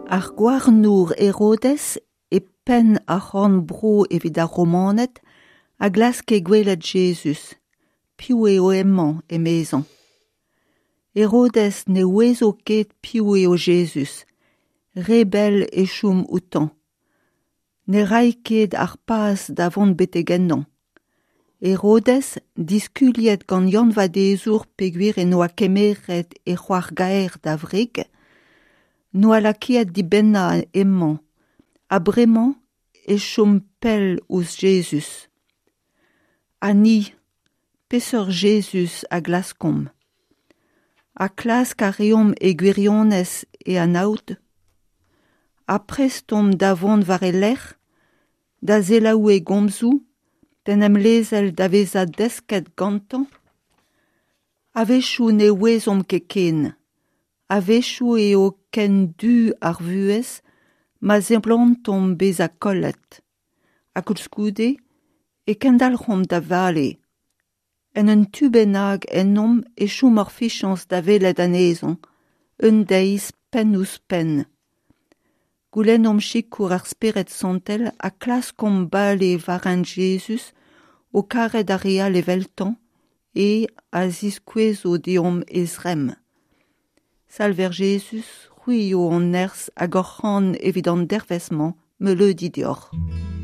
Ar gouarnour Herodez, e penn ar c'horn-bro evit ar Romaned, a glaske gwelet Jezuz. Piv eo hemañ, emezañ. Herodez ne ouezo ket piv eo Jezuz. Re bell e chom outañ. Ne ray ket ar paz da vont betek ennañ. Herodez, diskuliet gant Yann-Vadezour peogwir en doa kemeret e c'hoar-gaer da wreg, 'noa lakaet dibennañ hemañ, ha bremañ e chom pell ouzh Jezuz. Ha ni, peseurt Jezuz a glaskomp? Ha klask a reomp e gwirionez e anaout? Ha prest omp da vont war e lerc'h, da selaou e gomzoù, d'en em lezel da vezañ desket gantañ? A-wechoù ne ouezomp ket ken. A-wechoù eo ken du ar vuhez ma seblantomp bezañ kollet. Ha koulskoude e kendalc'homp da vale. En un tu bennak ennomp e chom hor fiziañs da welet anezhañ, un deiz penn-ouzh-penn. Goulennomp sikour ar Spered Santel ha klaskomp bale war hent Jezuz o karet ar re all eveltañ e a ziskouezo deomp e zremm. Salver Jezuz, c'hwi eo hon nerzh hag hor c'han evit an dervezh-mañ, meuleudi deoc'h.